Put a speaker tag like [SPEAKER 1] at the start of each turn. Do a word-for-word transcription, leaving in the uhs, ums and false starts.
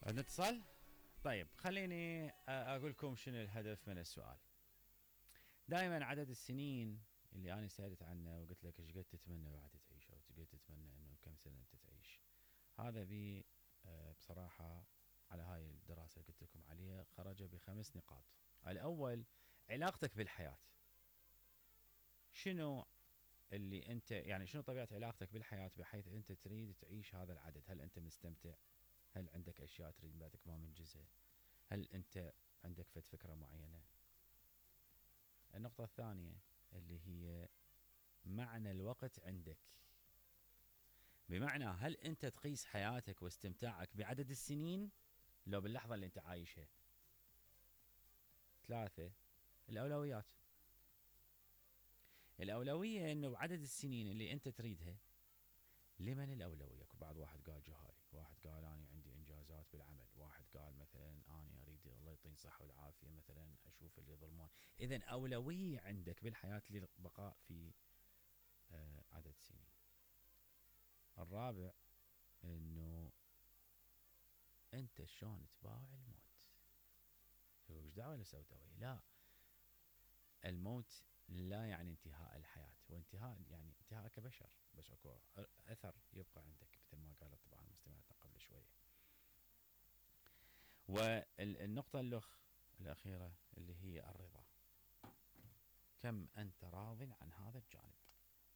[SPEAKER 1] عندنا اتصال. طيب خليني اقول لكم شنو الهدف من السؤال. دائما عدد السنين اللي انا سالت عنه وقلت لك ايش قد تتمنى بعد تعيش او ايش قد تتمنى انه كم سنه انت تعيش، هذا بي بصراحه على هاي الدراسه اللي قلت لكم عليها خرج بخمس نقاط. الاول علاقتك بالحياه، شنو اللي انت يعني شنو طبيعه علاقتك بالحياه بحيث انت تريد تعيش هذا العدد؟ هل انت مستمتع؟ هل عندك اشياء تريد بعد ما منجزها؟ هل انت عندك فد فكره معينه؟ النقطه الثانيه اللي هي معنى الوقت عندك، بمعنى هل انت تقيس حياتك واستمتاعك بعدد السنين لو باللحظه اللي انت عايشها؟ ثلاثه الاولويات. الاولويه انه بعدد السنين اللي انت تريدها لمن الاولويه؟ بعض واحد قال جهالي، واحد قال انا عندي انجازات بالعمل، واحد قال مثلا انا اريد الله يعطيني الصحه والعافيه مثلا اشوف اللي يظلمون. اذا اولويه عندك بالحياه للبقاء في آه عدد سنين. الرابع انه انت شلون تباوع الموت؟ ايش دعوه ولا سوداويه؟ لا، الموت لا يعني انتهاء الحياه، وانتهاء يعني انتهاء كبشر، بس اكو اثر يبقى عندك مثل ما قالت طبعا مستمعتنا قبل شويه. والنقطه الاخ الاخيره اللي هي الرضا، كم انت راض عن هذا الجانب؟